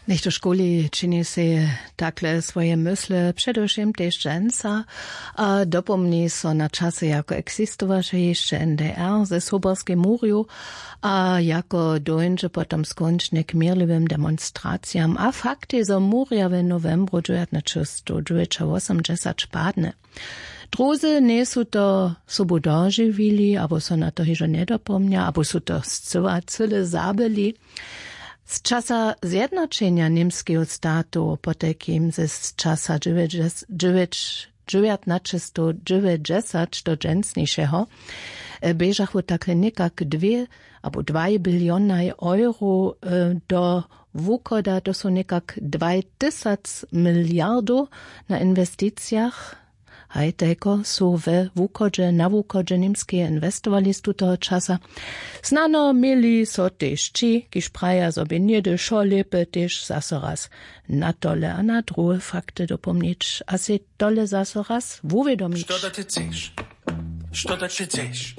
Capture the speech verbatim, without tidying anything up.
Něchto škuli čini sej takle swoje mysle předewšěm tež dźensa, a dopomni so na časy jako eksistowaše hišće n d r ze soberskej murju, a jako dóńdźe potom skónčnje k měrliwym demonstracijam a faktej zo murja w nowembru dźewjatnaćestowdźewjećawosomdźesat padne. Druzy njejsu to sobu dožiwili abo so na to hižo njedopomnja abo su to scyła cyle zabyli. Z časa zjednaćenja němskeho statu potajkim ze z časa dźewjećdźesat dźewjatnaćestowdźewjećdźesat do dźensnišeho běžachu takle někak dwě abo dwaj bilionaj euro do wuchoda to su někak dwaj tysac miliardow na inwesticijach. Haj tajko su we wuchodźe na wuchodźe němskeje inwestowali z tutoho časa. Snano měli so tež ći kiž praja zo bě něhdy wšo lěpe tež zaso raz na tole a na druhe fakty dopomnić a sej tole zaso raz wuwědomić. Što da ty chceš? Što da ty chceš?